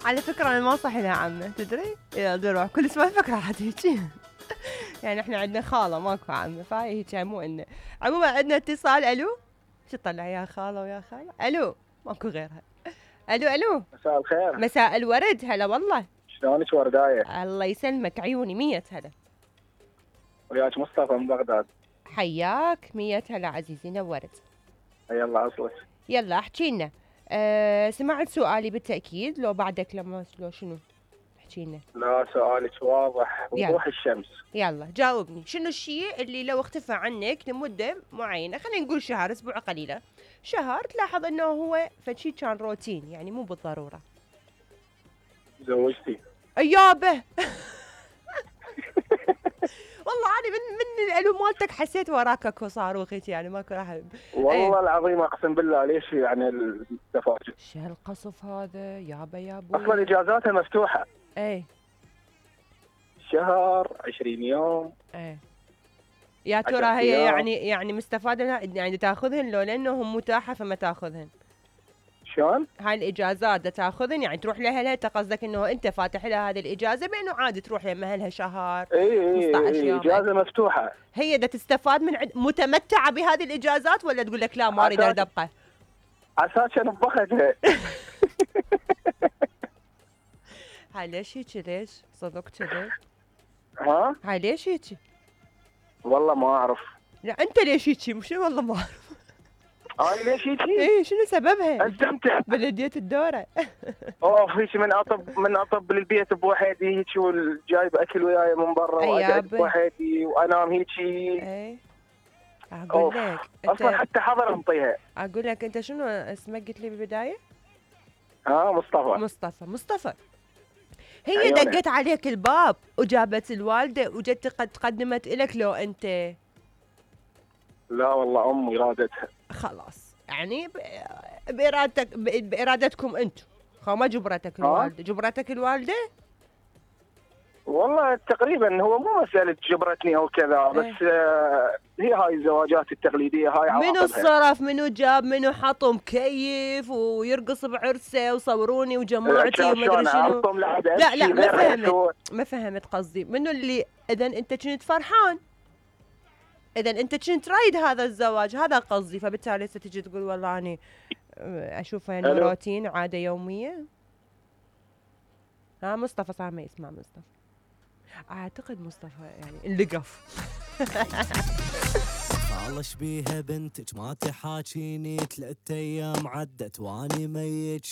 على فكرة أنا ما صحي لها عمة تدري؟ يا دروح كل اسبوع فكرة هيجي. يعني احنا عندنا خالة ماكو عمة، فهي هيك مو إنه. عموما عندنا اتصال. ألو، شو طلع يا خالة ويا خالة؟ ألو، ماكو غيرها. ألو. مساء الخير. مساء الورد، هلا والله. شلونك ورداية؟ الله يسلمك، عيوني 100 هلا. وياك مصطفى من بغداد. حياك 100 هلا عزيزي، نورت. يلا اصلك. يلا احكي لنا. سمعت سؤالي بالتأكيد لو بعدك لما لو شنو؟ احكي لنا. لا سؤالك واضح وضوح الشمس. يلا جاوبني، شنو الشيء اللي لو اختفى عنك لمدة معينة، خلينا نقول شهر، اسبوع قليلة، شهر، تلاحظ انه هو فشي كان روتين، يعني مو بالضرورة. زوجتي. ايابه. والله انا من الالو مالتك حسيت وراك اكو صاروخ يعني ماكو راح. والله العظيم اقسم بالله ليش يعني التفاجؤ. شو هالقصف هذا يابا يا ابوي؟ اصلا اجازاتها مفتوحة. ايه شهر 20 يوم. ايه يا ترى هي يعني مستفادة يعني تاخذهن لو لانهم متاحة فما تاخذهن؟ شلون؟ هاي الاجازات تاخذن يعني تروح لها انت قصدك انه انت فاتح لها هذه الاجازه بانه عادي تروح لها لها شهر 15 يوم اجازه مفتوحه. هي تستفاد من متمتعه بهذه الاجازات ولا تقول لك لا ما اريد ابقى؟ عساك نبختها. هاي ليش هيك؟ ليش صدق كذي؟ ها؟ هاي ليش هيك؟ والله ما اعرف. لا انت ليش هيك؟ مش والله ما اعرف. انا ليش هيك؟ ايه شنو سببها؟ استمتع بلدية الدورة. اوف هيك من اطب للبيت بوحدي هيك وجايب اكل وياي من برا واقعد بوحدي وانام هيك. ايه اقول لك اصلا حتى حضر انطيها. اقول لك انت شنو اسمك قلت لي بالبداية؟ مصطفى. هي عيوني. دقت عليك الباب وجابت الوالدة وجت قدمت إلك لو أنت؟ لا والله أمي رادتها. خلاص يعني بإرادتكم أنتم، ما جبرتك الوالدة؟ جبرتك الوالدة؟ والله تقريبا هو مو مسألة جبرتني أو كذا بس هي هاي الزواجات التقليدية هاي عواقبها. منو الصرف؟ منو جاب؟ منو حط مكيف ويرقص بعرسه وصوروني وجماعتي ومدري شنو؟ لا ما فهمت قصدي. منو اللي إذا أنت كنت فرحان، إذا أنت كنت رايد هذا الزواج، هذا قصدي، فبالتالي ستجي تقول والله أنا أشوفه يعني روتين عادة يومية. مصطفى صار ما يسمع مصطفى، أعتقد مصطفى يعني اللقف. خالش بيها بنتك ما تحاكيني 3 أيام عدت واني ميت.